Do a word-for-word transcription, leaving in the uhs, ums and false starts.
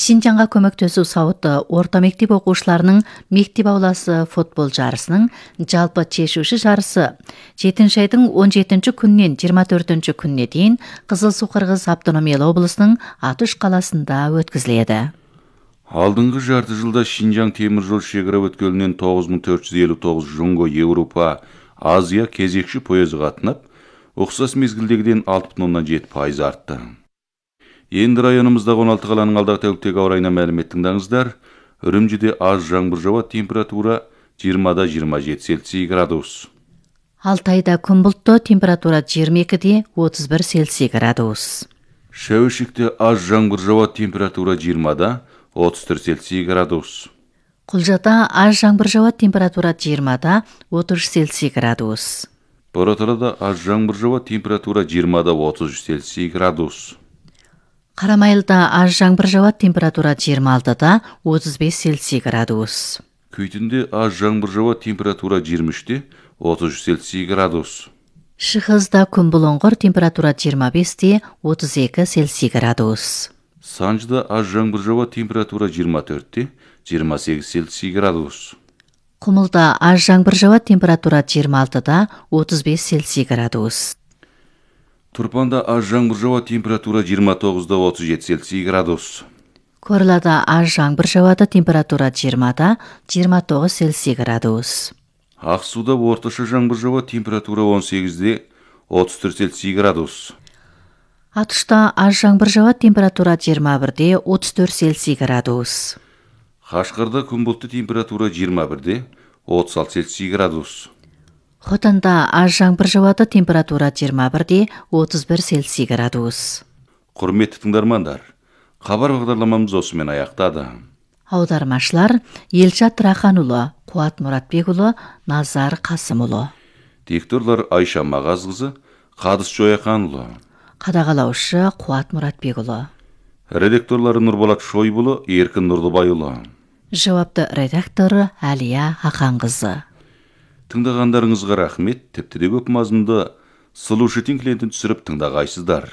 Шинжаңга көмөктөсүү сабыты орто мектеп окуучуларынын мектеп ауласы футбол жарысынын жалпы чечүүчү жарысы жетинчи айдын он жетинчи күнүнөн жыйырма төртүнчү күнүнө чейин Кызыл Суу Кыргыз автономиялуу облусунун Атыш калаасында өткөзүлөдү. Алдыңкы жарты жылда Шинжаң темир жол шекара өткөлүнөн тогуз миң төрт жүз элүү тогуз жунго Европа, Азия кезекчи поезы катынап, окшош мезгилдегиден алты бүтүн ондон жети пайыз артты. Энди районумуздагы он алты каланын алдагы тәулүктөгү аба ырайына маалымет тыңдаңыздар. Үрүмчүдө аз жаңбыр жауат, температура жыйырмада жыйырма жети Цельсий градус. Алтайда күн булуттуу, температура жыйырма экиде отуз бир Цельсий градус. Шәүшикте аз жаңбыр жауат, температура жыйырмада отуз төрт Цельсий градус. Кулжада аз жаңбыр жауат, температура жыйырмада отуз үч Цельсий градус. Бороталада аз жаңбыр жауат, температура жыйырмада отуз үч Цельсий градус. Карамайылда аз жаңбыр жауат, температура жыйырма алтыда отуз беш Цельсий градус. Күйтүндө аз жаңбыр жауат, температура жыйырма üçте отуз үч Цельсий градус. Шыгызда күн булоңгор, температура жыйырма беште отуз эки Цельсий градус. Санжыда аз жаңбыр жауат, температура жыйырма төртте жыйырма сегиз Цельсий градус. Кумулда аз жаңбыр жауат, температура жыйырма алтыда отуз беш Цельсий градус. Турпанда аз жаңбыр жауат, температура жыйырма тогузда отуз жети Цельсий градус. Корлада аз жаңбыр жауат, температура жыйырмада жыйырма тогуз Цельсий градус. Ак сууда орточо жаңбыр жауат, температура он сегизде отуз төрт Цельсий градус. Атышта аз жаңбыр жауат, температура жыйырма бирде отуз төрт Цельсий градус. Кашкарда күн булуттуу, температура жыйырма бирде отуз алты Цельсий градус. Хотанда аз жаңбыр жауат, температура жыйырма бирде отуз бир Цельсий градус. Курметтүү тыңдармандар, кабар багдарламамыз осу менен аяктады. Аудармачлар Элчат Рахан уулу, Кубат Муратбек уулу, Назар Касым уулу. Дикторлор Айша Магаз кызы, Кадыс Жоякан уулу. Кадагалаушы Кубат Муратбек уулу. Редакторлору Нурболот Шойбулу, Эркин Нурдубай уулу. Жауапты редактору Алия Акан кызы. Тыңдагандарыңызга рахмет. Тепти көп мазмунда слушатель клиентин түшүрүп тыңдагайсыздар.